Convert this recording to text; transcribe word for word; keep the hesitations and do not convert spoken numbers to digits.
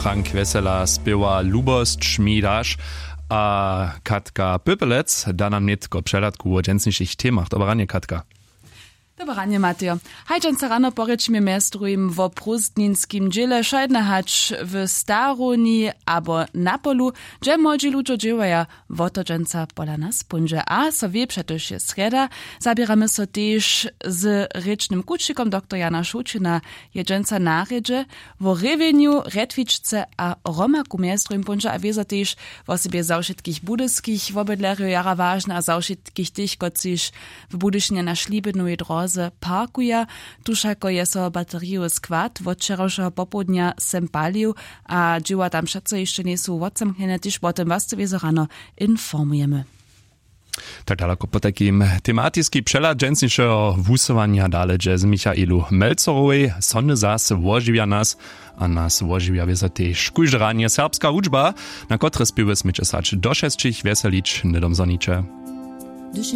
Frank wjesela spěwa lubosć mi daš. A katka pypelec da nam nětko přehladku wo dźensnišich temach. Dobre ranje, katka. Dobre ranje, matejo. Haj dźensa rano porěčimy mjez druhim wo prózdninskim dźěle wšojedne hač w starowni abo na polu, hdźe młodźi ludźo dźěłaja. Wo to dźensa pola nas póńdźe a so wě přetož je srjeda. Zaběramy so tež z rěčnym kućikom doktor jana šołćina. Je dźensa na rjedźe wo rěwjenju rjetwičce a romaku mjez druhim póńdźe a wězo tež wosebje za wšitkich budyskich wobydlerjow jara wažne a za wšitkich tych kotřiž w budyšinje na šlibinowej dróze parkuja. Tu wšako je so baterijowy skład wot wčerawšeho popołdnja sem palił a dźěła tam přeco hišće njejsu wotzamknjene tež wo tym was wězo rano informujemy. Tak daloko potajkim tematiski přehlad dźensnišeho wusyłanja dale dźe z michaelu melcerowej. Sony zas wožiwja nas a nas wožiwja wězo tež kóžde ranje serbska hudźba, na kotre spěwy směće sać do šesćich wjeselić hnydom zhoniće.